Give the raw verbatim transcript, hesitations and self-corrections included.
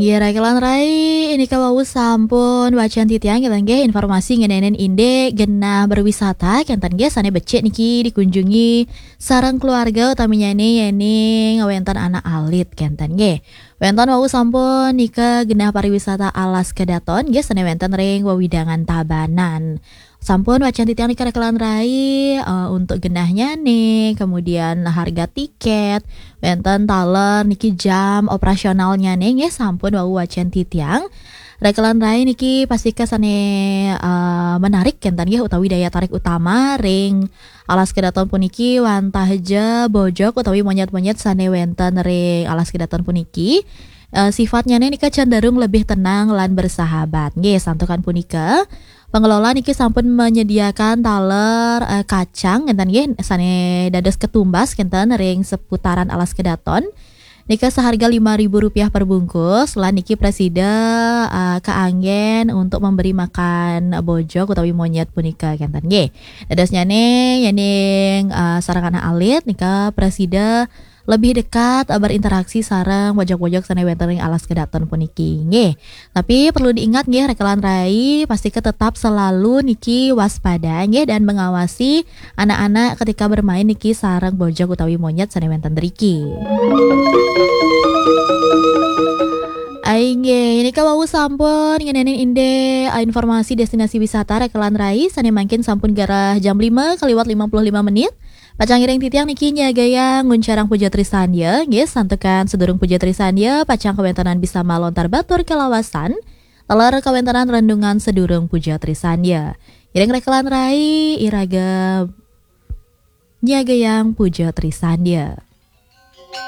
Ya, Rakelan Rai, ini kawau sampun wacan titiang, kenten nggih, informasi ngeninin indik genah berwisata, kenten nggih, sane becik niki dikunjungi sareng keluarga, utaminyane yening wenten anak alit, kenten nggih. Wenten wau sampun nika genah pariwisata Alas Kedaton nggih, sane wenten ring wewidangan Tabanan. Sampun wacan titiang nika, Rakelan Rai, eh, untuk genahnyane, kemudian harga tiket, wenten taler niki jam operasionalnyane nggih, sampun wau wacan titiang. Rakelan Rai, niki pastika sane, eh, menarik kenten nggih, utawi daya tarik utama ring Alas Kedaton puniki, wantah ja bojog utawi monyet-monyet sane wenten ring Alas Kedaton puniki. Eh, sifatnyane nika cenderung lebih tenang lan bersahabat. Nggih, santukan punika, pengelola niki sampun menyediakan taler, eh, kacang, kenten nggih, sane dados ketumbas, kenten, ring seputaran Alas Kedaton. Nika seharga lima ribu rupiah per bungkus, lan niki presida, eh, kaanggen untuk memberi makan bojog utawi monyet punika, kenten nggih. Dadosnyane, yening, eh, sareng anak alit, nika presida lebih dekat, eh, berinteraksi sareng bojog-bojog sane wenten ring Alas Kedaton puniki, nggih. Tapi perlu diingat nggih, Rakelan Rai, pastika tetap selalu niki waspada nggih, dan mengawasi anak-anak ketika bermain niki sareng bojog utawi monyet sane wenten driki. Inggih, nika wau sampun ngenenin indik, eh, informasi destinasi wisata, Rakelan Rai, sane mangkin sampun garah jam lima kaliwat lima puluh lima menit. Pacang ngiring titiang niki nyagayang nguncarang Puja Trisandya, nggih, santukan sedurung Puja Trisandya, pacang kawentenan bisama lontar batur kalawasan, taler kawentenan renungan sedurung Puja Trisandya. Ngiring, Rakelan Rai, iraga nyagayang Puja Trisandya.